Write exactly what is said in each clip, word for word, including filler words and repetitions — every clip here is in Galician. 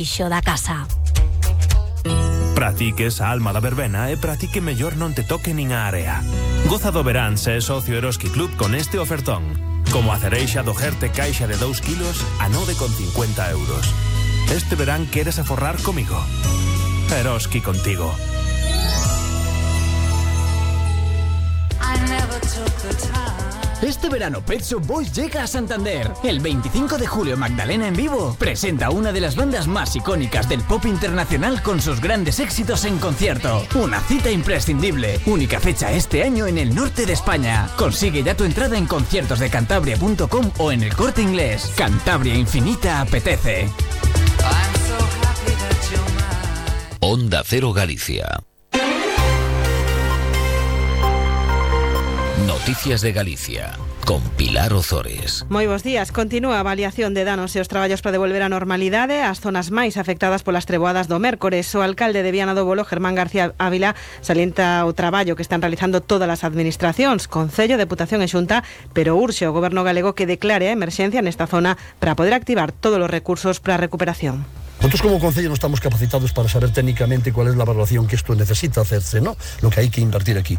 Ixo da casa. Para ti que es a alma da verbena e para ti que mellor non te toque nin a area. Goza do verán se é socio Eroski Club con este ofertón. Como a cereixa do Gerte caixa de dous kilos a nove con cincuenta euros. Este verán queres aforrar comigo. Eroski contigo. Este verano Pet Shop Boys llega a Santander. El veinticinco de julio Magdalena en vivo presenta una de las bandas más icónicas del pop internacional con sus grandes éxitos en concierto. Una cita imprescindible. Única fecha este año en el norte de España. Consigue ya tu entrada en conciertos de cantabria punto com o en El Corte Inglés. Cantabria Infinita apetece. Onda Cero Galicia. Noticias de Galicia, con Pilar Ozores. Moi bons días. Continúa a avaliación de danos e os traballos para devolver a normalidade as zonas máis afectadas polas treboadas do mércores. O alcalde de Viana do Bolo, Germán García Ávila, salienta o traballo que están realizando todas as administracións, Concello, Deputación e Xunta, pero urxe o Goberno galego que declare a emerxencia nesta zona para poder activar todos os recursos para a recuperación. Nosotros como Concello no estamos capacitados para saber técnicamente cuál es la valoración que esto necesita hacerse, ¿no? Lo que hay que invertir aquí.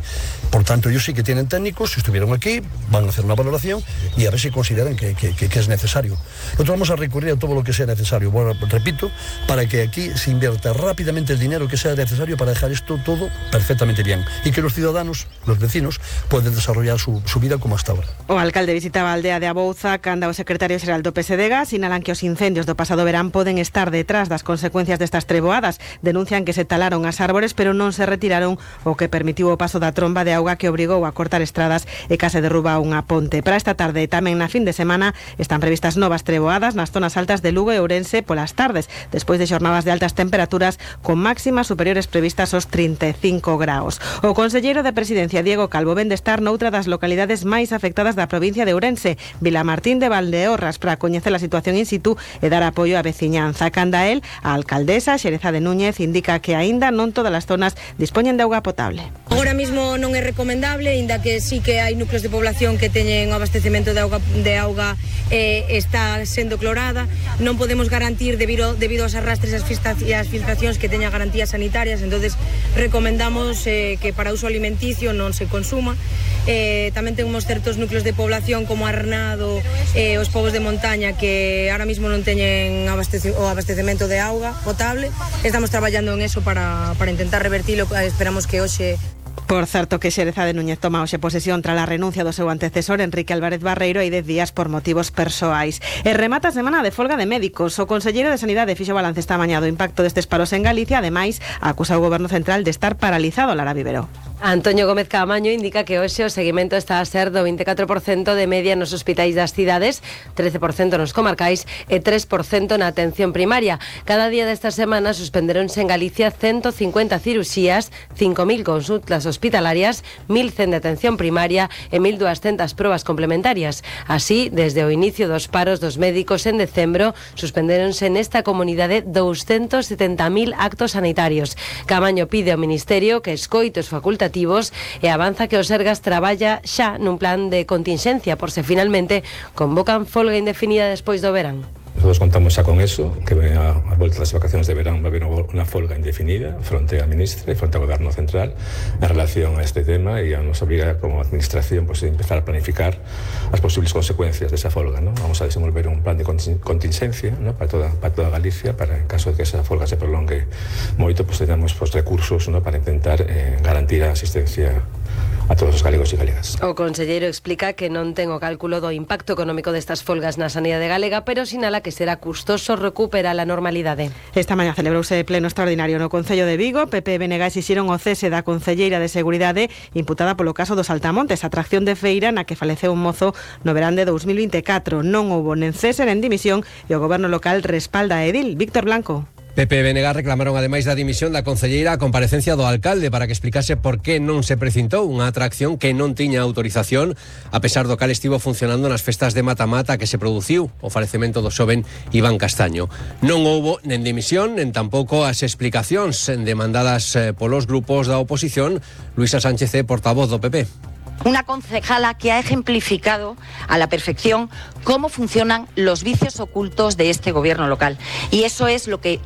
Por tanto, ellos sí que tienen técnicos, si estuvieron aquí, van a hacer una valoración y a ver si consideran que, que, que, que es necesario. Nosotros vamos a recurrir a todo lo que sea necesario, bueno, repito, para que aquí se invierta rápidamente el dinero que sea necesario para dejar esto todo perfectamente bien y que los ciudadanos, los vecinos, puedan desarrollar su, su vida como hasta ahora. O alcalde visitaba a aldea de Abouza, canda o secretario xeral do P S D G, sinalan que os incendios do pasado verán poden estar detrás das consecuencias destas treboadas. Denuncian que se talaron as árbores pero non se retiraron, o que permitiu o paso da tromba de auga que obrigou a cortar estradas e case derruba unha ponte. Para esta tarde e tamén na fin de semana están previstas novas treboadas nas zonas altas de Lugo e Ourense polas tardes, despois de xornadas de altas temperaturas con máximas superiores previstas aos trinta e cinco graus. O conselleiro de Presidencia, Diego Calvo, ven de estar noutra das localidades máis afectadas da provincia de Ourense, Vilamartín de Valdeorras, para coñecer a situación in situ e dar apoio á veciñanza. Canda el, a alcaldesa Xereza de Núñez indica que aínda non todas as zonas dispoñen de auga potable. Agora mismo non é recomendable, inda que sí que hai núcleos de población que teñen o abastecemento de auga, de auga eh, está sendo clorada. Non podemos garantir debido, debido aos arrastres e as filtracións que teña garantías sanitarias, entonces recomendamos eh, que para uso alimenticio non se consuma. Eh, tamén temos certos núcleos de población como Arnado e eh, os povos de montaña que ahora mismo non teñen abastece, o abastecemento de auga potable. Estamos traballando en eso para, para intentar revertilo. Esperamos que hoxe... Por certo que Xereza de Núñez toma hoxe posesión tras a renuncia do seu antecesor Enrique Álvarez Barreiro hai dez días por motivos persoais. E remata a semana de folga de médicos. O conselleiro de Sanidade fixo balance esta mañá do impacto destes paros en Galicia. Ademais, acusa o Goberno Central de estar paralizado. Lara Vivero. Antonio Gómez Caamaño indica que hoxe o seguimento está a ser do vinte e catro por cento de media nos hospitais das cidades, trece por cento nos comarcais e tres por cento na atención primaria. Cada día desta semana suspenderonse en Galicia ciento cincuenta cirurxías, cinco mil consultas hospitalarias, mil cen de atención primaria e mil doscientas probas complementarias. Así, desde o inicio dos paros dos médicos en decembro, suspenderonse nesta comunidade doscientos setenta mil actos sanitarios. Caamaño pide ao Ministerio que escoite os facultativos e avanza que o Sergas traballa xa nun plan de continxencia por se finalmente convocan folga indefinida despois do verán. Nosotros contamos xa con eso, que a, a volta das vacacións de verán va a haber unha folga indefinida fronte á ministra e fronte ao Goberno Central en relación a este tema e a nos obliga como administración pues, a empezar a planificar as posibles consecuencias desa folga, ¿no? Vamos a desenvolver un plan de contingencia, ¿no? para, toda, para toda Galicia para en caso de que esa folga se prolongue moito, pues tengamos pues, recursos, ¿no? para intentar eh, garantir a asistencia a todos os galegos e galegas. O conselleiro explica que non ten o cálculo do impacto económico destas folgas na sanidade galega, pero sinala que será custoso recuperar a normalidade. Esta mañá celebrouse pleno extraordinario no Concello de Vigo. P P e B N G exixeron o cese da concelleira de Seguridade imputada polo caso dos Saltamontes, atracción de feira na que faleceu un mozo no verán de dos mil vinte e catro. Non houbo nen cese nen dimisión e o goberno local respalda a Edil. Víctor Blanco. P P e B N G reclamaron ademais da dimisión da concelleira a comparecencia do alcalde para que explicase por que non se precintou unha atracción que non tiña autorización, a pesar do cal estivo funcionando nas festas de mata-mata que se produciu o falecemento do xoven Iván Castaño. Non houbo nen dimisión, nen tampouco as explicacións demandadas polos grupos da oposición. Luisa Sánchez é portavoz do P P. Una concejala que ha ejemplificado a la perfección cómo funcionan los vicios ocultos de este gobierno local. Y eso es lo que